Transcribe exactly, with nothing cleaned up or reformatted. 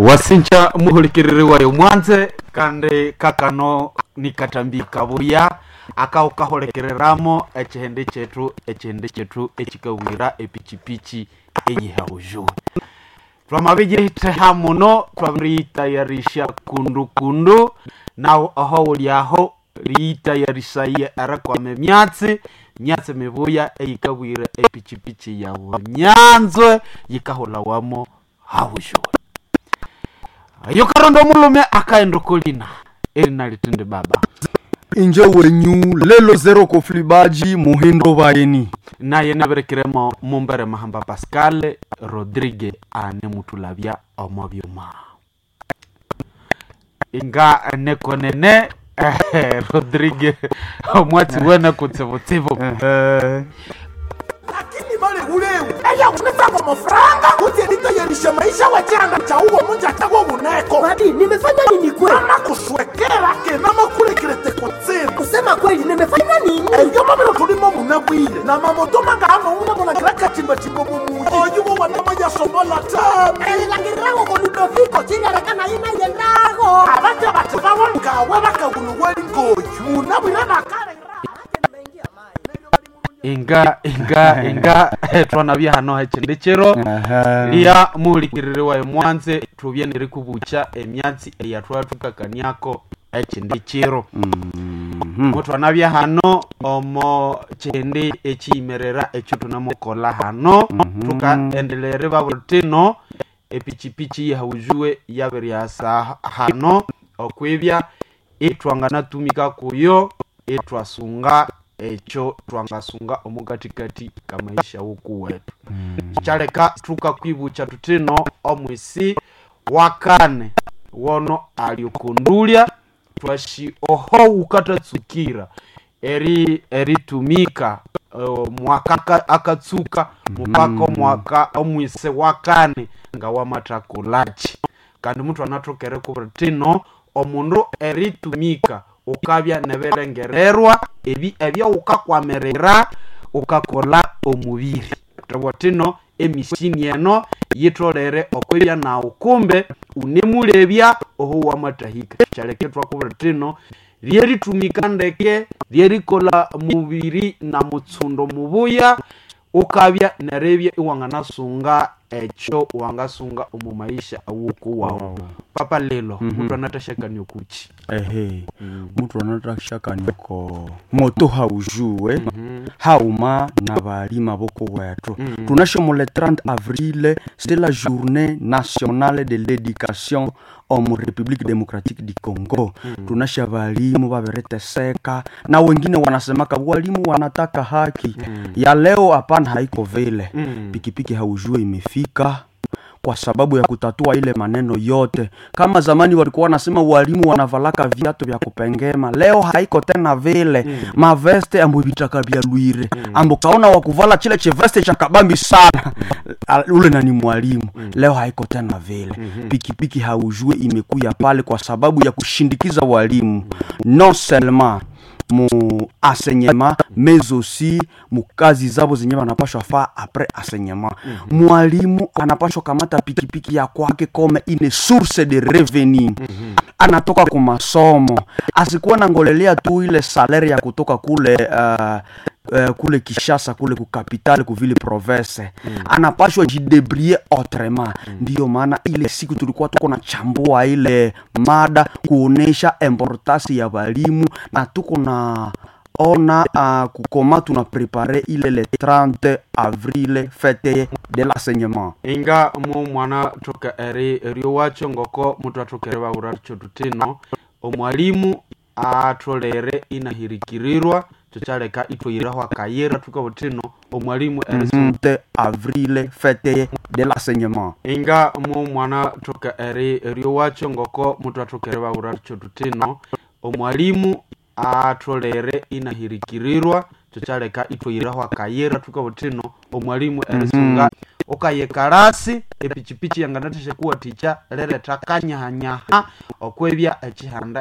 Wasinja muhulikiriri wayo mwanze kandi kakano nikatambika buya akaukahulikiriramu ekihindi kyethu ekihindi kyethu ekikabwira epichipichi eyihabujuwe. Twamabijeitheha muno, twabiriyitayarisha kundu kundu nawu oho wulyaho riyitayarishaye erikwama emyatsi myatsi mibuya eyikabwira epichipichi yawu nyanzwe yikahulawamo habujuwe. Yukaronda omulume akaenda okolina erina litindi baba. Inje wenyu lelo zero koflibaji muhindo bayeni. Naye nabirekiremo mumbere mahamba Pascal Rodrigue ane mutulabya omo byuma inga nekonene Rodrigue omwatsi wene kutsibutsibu. Lakini male uleu eya unetsango mofranga kuti nditayarisha maisha wachanga cha uwo munja chawo uneko. Mati, nimefanya nini kweli? Ama kuswekera ke namakurekerete kutsina. Kusema kweli nimefanya nini? Eyo mabiro tulimo munabwile na mamoto manga ano unabona kachimbachimbo mumuyi oyuwo wanama yasomola tami. Elangirago con Ludoviko chilarekana ina yendago. Abacha bati bawongawe bakaguluweli ngoyu munabwile bakale. Inga inga inga twanabya hano hechindi chiro liya muhulikiriri wayo mwanze tubye nerikubucha emyatsi eyatwathukakaniako echindi chiro. Mutwanabya hano omo chindi echiyimerera ekyo tunamukola hano tukaendelera babutino epichipichi yahaujuwe yabiryasa hano okwibya itwanganatumika kuyo itwasunga ekyo twangasunga omukatikati kamaisha wukuwetu. Kyaleka tukakwibukya tutino omwisi wakane wono alikundulya twashi oho ukatatsukira eri eritumika uh, mwaka akatsuka mupaka omwaka omwise wakane nga wamathakolachi kandi muthu anathokere kubura tino omundu eritumika ukabya nebirengererwa ebi ebyawukakwamirira ukakola omubiri tobwa tino emishini eno yitholere okwibya nawu kumbe unemulebya oho wamatahika kyaleke twakubwira tino lyeritumika ndeke lyerikolha mubiri na mutsundo mubuya ukabya neribya iwanganasunga ekyo wangasunga omu maisha awukuwawu. Papa lelo muthu anathashakania okuki? Ehe, muthu anathashakania oko moto haujuwe hauma na balima bokowethu. Tunashomo le trente avril, c'est la journée nationale de l'éducation omu République démocratique du Congo. Tunasha balimu babiriteseka na wengine wanasemaka walimu wanataka haki ya leo. Hapana, haiko vile. Pikipiki haujue imefika kwa sababu ya kutatua ile maneno yote. Kama zamani walikuwa wanasema walimu wanavalaka viatu vya kupengema, leo haiko tena vile. Mm. Maveste ambo vitaka vya lwire mm. ambo kaona wakuvala chile cheveste cha kabambi sana mm. ule nani mwalimu mm. leo haiko tena vile. mm -hmm. Pikipiki haujue imekuya pale kwa sababu ya kushindikiza walimu mm. non seulement mu enseignement mais aussi mu kazi zabo zenye wanapashwa faa après enseignement. mm -hmm. Mwalimu anapashwa kamata pikipiki ya kwake comme une source de revenu. mm -hmm. Anatoka ku masomo asikuwa nangolelea tu ile salaire ya kutoka kule uh, Uh, kule Kishasa kule ku capitale ku ville province. mm. Anapashwa jidebrie autrement. mm. Ndiyo maana ile siku tulikuwa tuko na chambua ile mada kuonesha importance ya walimu na tuko na ona uh, kukoma tuna prepare ile le trente avril fete de l'enseignement. Inga mu mwana toka eri eriowacho ngoko muthu athokere bawura tutino omwalimu atholere inahirikirirwa tukyaleka ithwayiraho akayira thukabutino omwalimu trente avril fete de l'enseignement. Inga mu mwana toka eri eriowacho ngoko muthu athokere bawura tutino omwalimu atholere inahirikirirwa tukyaleka ithwayiraho akayira thukabutino omwalimu erisunga ukayikalasi epichipichi yanganathasha kuwathikya liretha kanyahanyaha okwibya ekihanda.